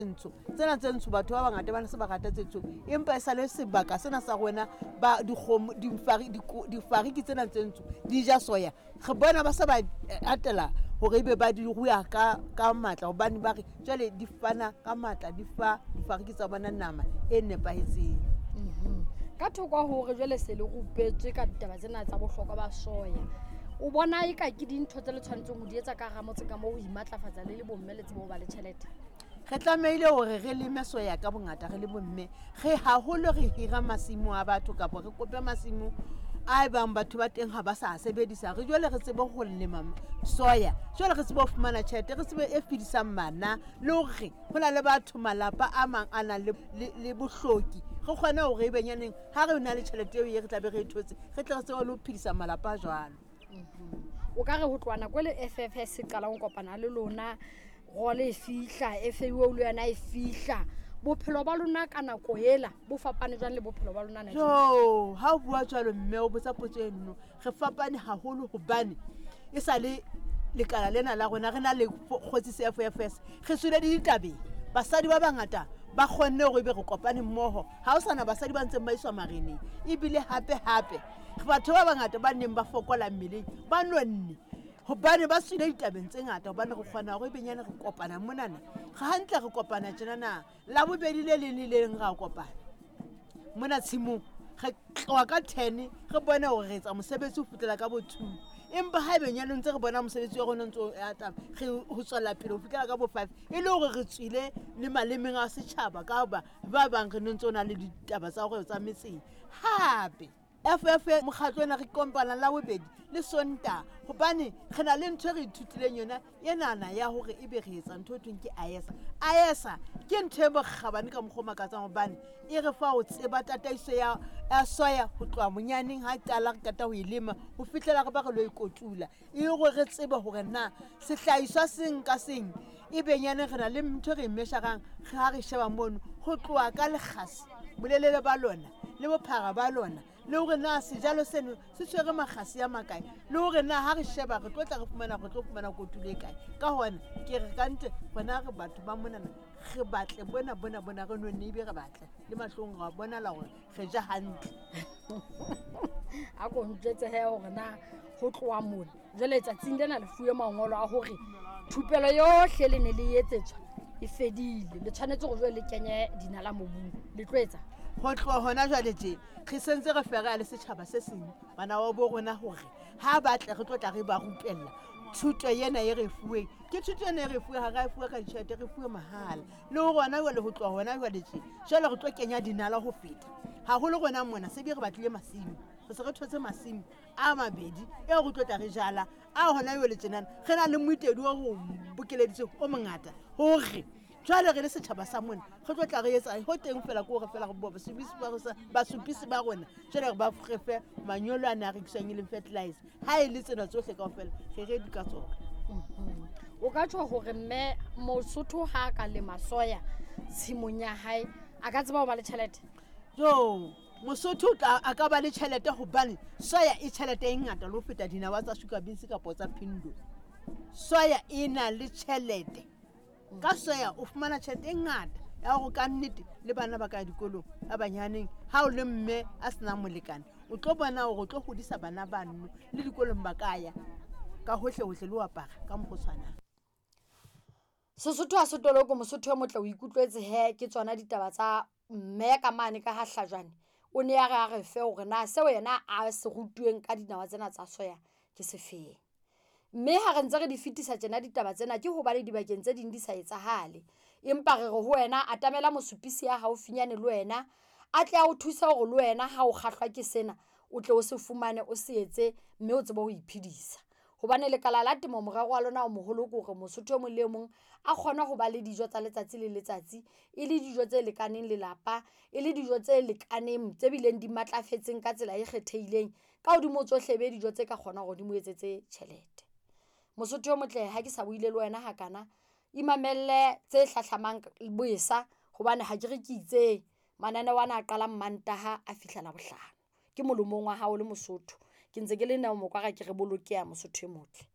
Ntsho tsena tse ntsho, batho ba bangata ba ne se ba rata tse ntsho, empa e sale sebaka sena sa rona ba dikgomo, difariki tsena tse ntsho di ja soya. Re bona ba se ba atela hore ebe ba di rua ka matla, hobane ba re jwale di fana ka matla, di fa difariki tsa bona nama e nepahetseng. Ka thoko hore jwale se le rupetswe ka ditaba tsena tsa bohlokwa ba soya, o bona eka ke dintho tse le tshwanetseng ho di etsa ka hara motse ka moo ho imatlafatsa le le bomme le tsebe ho ba le tjhelete? Re tlamehile hore re leme soya ka bongata re le bomme. Re haholo re hira masimo a batho kapa re kope masimo a ebang batho ba teng ha ba sa sebedisa. Re jwale re tsebe ho lema soya, jwale re tsebe ho fumana tjhelete, re tsebe e fedisang bana, le hore ho na le batho malapa a mang a nang le bohloki. Re kgone hore e benyaneng ha re na le tjhelete eo e re tlabe re e thotse, re tle re tsebe le ho phedisa malapa a jwalo. O ka re ho tloha nako e le FFS e qalang ho kopana le lona, role e fihla, FAO le yona e fihla, bophelo ba lona ka nako ela bo fapane jwang le bophelo ba lona na? Jo, ha o bua jwalo mme o botsa potso e nno, re fapane haholo hobane e sa le lekala lena la rona re na le kgotsi se FFS, re tswile le ditabeng. Basadi ba bangata ba kgonne hore ebe re kopane mmoho, ha ho sana basadi ba ntseng ba iswa mareneng. Ebile hape hape batho ba bangata ba neng ba fokola mmeleng ba nonne hobane ba tswile ditabeng tse ngata, hobane re kgona hore benyane re kopana monana. Re hantle re kopana tjenana, Labobedi le leng le le leng ra kopana mona tshimong, re tloha ka 10 re bone hore re etsa mosebetsi ho fihlela ka bo 2. Empa ha ebe nyane ntse re bona mosebetsi wa rona o ntse o atama, re ho tswela pele ho fihlela ka bo 5, e le hore re tswile le malemeng a setjhaba ka hoba ba bang re ne ntse o na le ditaba tsa hore tsa metseng. Hape FF mokgatlo ona re kopana Labobedi le Sontaha, hobane re na le ntho e re ithutileng yona enana ya hore ebe re etsa ntho e thweng ke AESA. AESA ke ntho e bokgabane ka mokgwa o makatsang, hobane e re fa ho tseba tataiso ya soya ho tloha monyaneng ha qala re qeta ho e lema ho fihlela re ba re lo e kotula, e hore re tsebe hore na sehlahiswa seng ka seng e benyane re na le ntho e re e mesharang ha re sheba mono ho tloha ka lekgasi, bolelele ba lona le bophara ba lona, le hore na sejalo seno se tshwere makgasi a makae, le hore na ha re sheba re tlo tla re fumana, re tlo fumana kotulo e kae. Ka hona ke re ka ntle rona re batho ba monana re batle bona bona bona re nonne, ebe re batle le mahlong ra bonala hore re ja hantle. A ko ntjwetse he hore na ho tloha mona jwale tsatsing lena le fuwe mangolo a hore thupelo yohle le ne le etsetswa e fedile, le tshwanetse hore jwale le kenye dinala mobung, le tlo etsa? Ho tloha hona jwale tje re sentse re fereha le setjhaba se seng bana ba bo rona hore ha ba tle re tlo tla re ba rupella thuto ena e re fuweng. Ke thuto ena e re fuweng, ha re a fuwe ka ditjhelete, re fuwe mahala. Le ho rona jwale ho tloha hona jwale tje jwale re tlo kenya dinala ho feta haholo rona mona se be re batlile masimo, re se re thotse masimo a mabedi eo re tlo tla re jala a hona jwale tjenana. Re na le moitedi o re bokeleditseng o mongata hore jwale re le setjhaba sa mona re tlo tla re etsa ho teng fela, ke hore fela re bo basupisi ba rona jwale re ba re fe manyolo a ne a rekiswang e leng fertilizer. Ha e le tsena tsohle kaofela re ready ka tsona. O ka tjho hore mme Mosotho ha a ka lema soya tshimong ya hae a ka tseba ho ba le tjhelete? Jo, Mosotho a ka ba le tjhelete hobane soya e tjhelete e ngata le ho feta dinawa tsa sugar beans kapa tsa phindo. Soya e na le tjhelete. Ka soya o fumana tjhelete e ngata ya hore ka nnete le bana ba ka dikolong ba banyaneng, ha o le mme a senang molekane o tlo bona hore o tlo hodisa bana bano le dikolong ba ka ya ka hohle hohle le ho apara ka mokgwa o tshwanang. Sesotho ha se toloko, Mosotho e motle o ikutlwetse he ke tsona ditaba tsa mme ka mane ka ha Hlajwane. O ne a re a re fe hore na seo yena a se rutuweng ka dinawa tsena tsa soya ke sefeng. Mme ha re ntse re di fetisa tjena ditaba tsena ke hobane dibakeng tse ding di sa etsahale. Empa re re ho wena atamela mosupisi ya haufinyane le wena a tle a o thuse hore le wena ha o kgahlwa ke sena o tle o se fumane o se etse mme o tsebe ho iphedisa. Hobane lekala la temo morero wa lona o moholo ke hore Mosotho e mong le e mong a kgone ho ba le dijo tsa letsatsi le letsatsi, e le dijo tse lekaneng lelapa, e le dijo tse lekaneng tse bileng di matlafetseng ka tsela e kgethehileng. Ka hodimo tsohle be dijo tse ka kgonang hore di mo etsetse tjhelete. Mosotho e motle ha ke sa buile le wena hakana, imamelle tse hlahlamang boesa hobane ha ke re ke itseng mananeo ana a qalang Mantaha a fihla Labohlano. Ke molomong wa hao le Mosotho. Ke ntse ke le Neo Mokwara ke re bolokeha Mosotho e motle.